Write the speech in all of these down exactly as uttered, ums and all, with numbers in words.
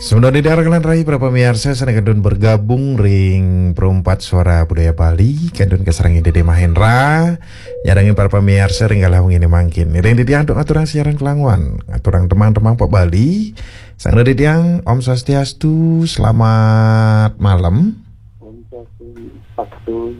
Sementara di daerah Kelan Rai, para pamiarsa sané kantun bergabung ring Perumpat Suara Budaya Bali, kantun kasarengin Dede Mahendra, nyarengin para pamiarsa ring galah wenginé mangkin. Ring titiang antuk ngaturang siaran kalanguan, ngaturang tembang-tembang pop Bali. Sang Dede tiang, Om Swastiastu, selamat malam. Om Swastiastu,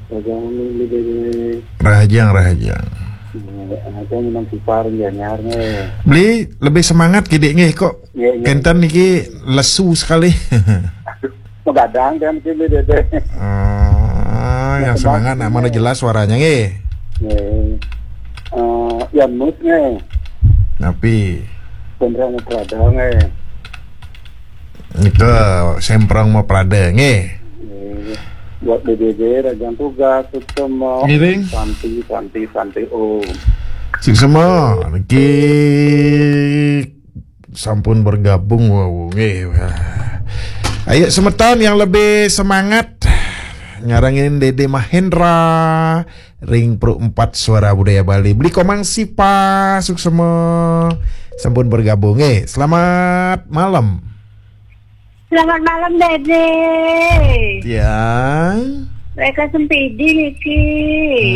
Raja Mami, Dede. Rahajeng, rahajeng. Rahajeng, Mang Sipar, Gianyar, nggih. Beli lebih semangat kidik nggih, kok. Iya, iya. Kenten niki lesu sekali. Aduh, magadang kan kene, Dede. Oh, yang semangat, nak mana jelas suaranya nggih. Nggih. Eh, ya mus nggih. Napi? Semprong Prada nggih. Itu Semprong mau Prada nggih. Nggih. Buat B B B, Raja Tugas, Suksema. Ngiring. Santi, Santi, Santi, Om. Suksema, niki sampun bergabung, wau, nggih. Ayo semeton yang lebih semangat nyarengin Dede Mahendra ring Perumpat Suara Budaya Bali. Beli Komang Sipa, suksema sampun bergabung, nggih. Selamat malam. Selamat malam, Dede. Tiang. Bu Eka Sempidi niki.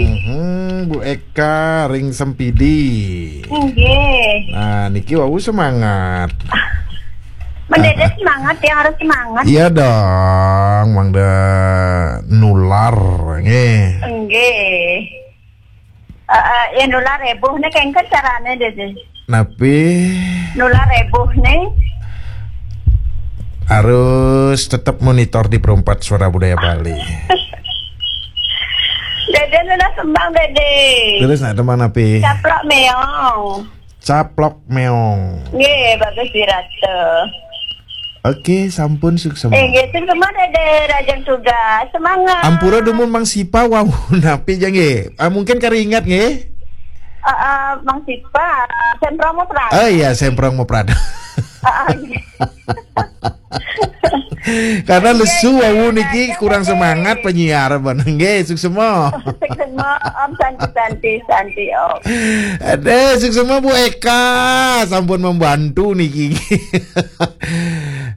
Mhm, Bu Eka ring Sempidi. Nggih. Nah, niki wau semangat. Mendede semangat, yang harus semangat. Iya dong, mangda nular nggih. Nggih. Eh, eh, ya nular heboh nih, kengken carane, Dede. Napi? Nular heboh nih. Harus tetap monitor di Perumpat Suara Budaya Bali. Dede nular tembang, Dede. Terus nak tembang napi? Caplok Meong. Caplok Meong. Nggih, bagus dirasa. Oke, sampun suksema. Eh, nggih, suksema, Dede, rahajeng tugas. Semangat. Ampura dumun Mang Sipa, wau, napi ja nggih? Ah, mungkin kari ingat nggih. Ah, ah, Mang Sipa, Semprong mau Prada. Oh iya, Semprong mau Prada. Ah, ah, nggih. Karena lesu wau niki, kurang semangat penyiar, ben. Nggih, suksema. Suksema, Om, santi, santi, santi, Om. Aduh, suksema Bu Eka, sampun membantu niki.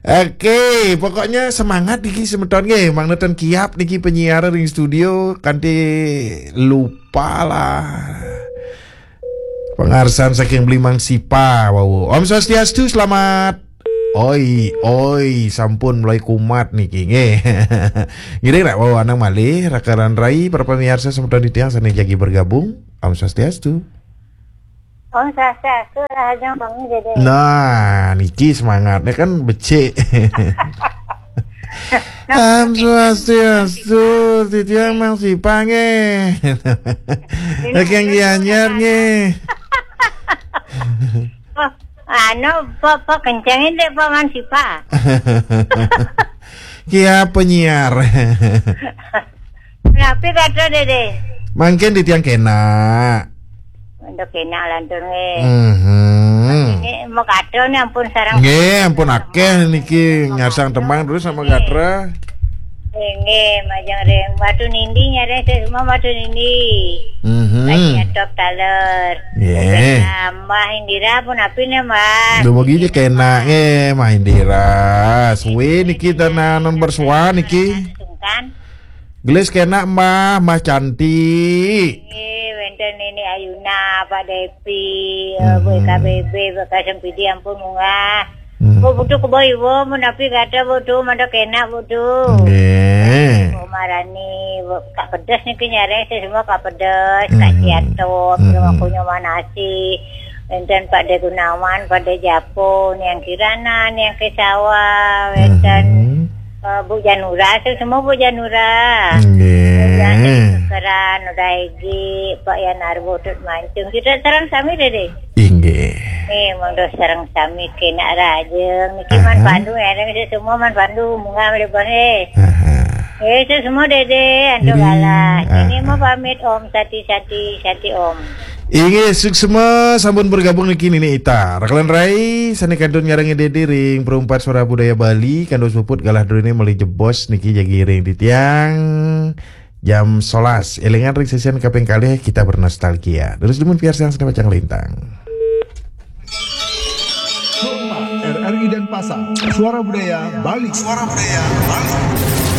Oke, pokoknya semangat niki semeton nggih, mangda ten kiap niki penyiar ring studio, kanti lupa lah. Pangarsan saking Beli Mang Sipa, wau. Om Swastiastu, selamat. Oi, oi, sampun mulai kumat niki nggih. Ngiring rak wau anang malih, rakaran rai, para pamiarsa semeton titiang sané jagi bergabung. Om Swastiastu. Om Swastiastu, rahajeng bengi, Dede. Nah, niki semangatnya kan becik. Om Swastiastu, titiang Mang Sipa nggih. Saking Gianyar nggih. Oh, anu, apa, apa kencengin deh, Pak Mang Sipa. Kia penyiar. Napi kata, Dede? Mangkin titiang kena. Untuk kena lantur nggih. Mhm. Ini mau kado nih, ampun, sareng. Nggih, ampun akeh niki ngarsang tembang terus sama gatra. Nggih, majeng ring Batu Nindi, nyareng semua Batu Nindi. Mhm. Banyak top taler. Nggih. Mbah Indira pun api nih, Mbah. Dumugi je kena nggih, Mbah Indira. Suwe niki tenan nomor suwa niki. Sungkan. Gelis kena Mbah, Mbah cantik. Nggih, wénten Nini Ayuna, Pak Depi, eh, Bu Mhm. Eka B B, Bu Eka Sempidi, ampun munggah. Mhm. Bu butuh kebo iwo, menapi kata butuh, mada kena butuh. Nggih. Bu Marani, Bu Kak Pedes niki nyareng sih semua Kak Pedes, Kak Mhm. Ciato, Mhm. Nyoman Asih. Wénten Pak De Gunawan, Pak De Japo, Niang Kirana, Niang Kesawa, wénten, Mhm. eh, Bu Janura, itu semua Bu Janura. Nggih. Wénten Kekeran, Uda Egi, Pak Yan Arbo, Tut Mancung. Kita sareng sami, Dede. Inggih. Nih, monggo sareng sami kena rahajeng. Niki Man Aha. Pandu, ya, niki semua Man Pandu, munggah malih, Bang, eh. Aha. Eh, itu semua, Dede, antuk Dede. Galah. Ini Aha. Mau pamit, Om, sati-sati, sati, Om. Inggih, suksma sampun bergabung niki Nini Ita. Rakalan rai, sané kantun nyarengin Dede ring Perumpat Suara Budaya Bali, kantos puput galah drone malih jebos niki jagi ring titiang jam solas. Élingan ring sesian kaping kalih kita bernostalgia. Terus dumun piarsang sané pacang lintang. R R I Denpasar, Suara Budaya Bali. Suara Budaya Bali.